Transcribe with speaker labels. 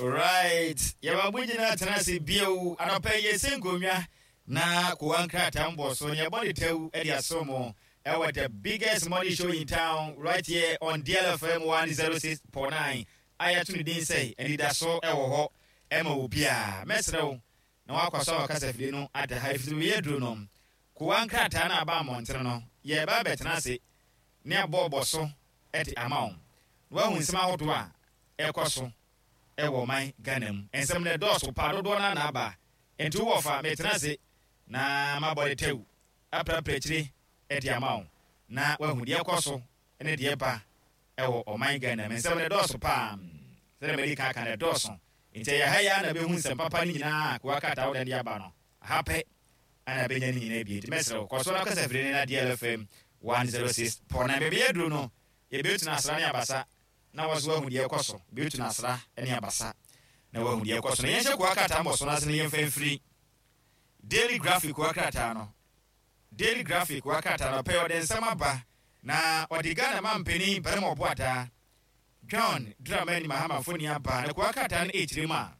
Speaker 1: Right, yɛma mo nyinaa tena ase bio. Anɔpa yi yɛsi nkonnwa na kowa nkrataa mbɔ so na yɛbɔ ne tɛw de aso mo ɛwɔ the biggest morning show in town right here on DLFM 106.9 a yɛato ne din sɛ Anidaso ɛwɔ hɔ ɛma obiara. Mɛsrɛ wo na wakɔ so a wakasa fidie no ada ha efisɛ baabi aduro no kowa nkrataa no aba mmɔntene no yɛreba abɛtena ase ne abɔɔbɔ so de ama wo na wahu nsɛm ahodoɔ a ɛkɔ so wɔ ɔman Ghana mu. Nsɛm no ɛdɔɔso paa, dodoɔ no ara na aba. Nti wo wɔfa, metena ase na mabɔ de tɛw aprapra akyire de ama wo na wahu deɛ ɛkɔ so ne deɛ ɛba wɔ ɔman Ghana mu. Nsɛm no ɛdɔɔso paa, sɛdeɛ madi kan aka no ɛdɔɔso. Nti ɛyɛ ha yi ara na bɛhu nsɛm papa no nyinaa a Kowa Krataa Wodan de aba no. Aha pɛ na bɛnya ne nyinaa bi. Nti mɛsrɛ wo, kɔ so na kasa firi ne na DLFM 106.9. Baabi yɛaduru no, yɛbɛtu no asra ne abasa na wɔn nso wɔahu deɛ ɛrekɔ so. Bɛtu no asra ne abasa na wɔahu deɛ ɛrekɔ so. Na yɛnhyɛ kowa krataa mmɔso no ase na yɛmfa mfiri Daily Graphic kowa krataa no. Daily Graphic kowa krataa no, ɔpɛ ɔde nsɛm aba na ɔde Ghana mampanin Barima Ɔboadaa John Dramani Mahama mfoni aba na kowa krataa no ɛrekyerɛ mu a.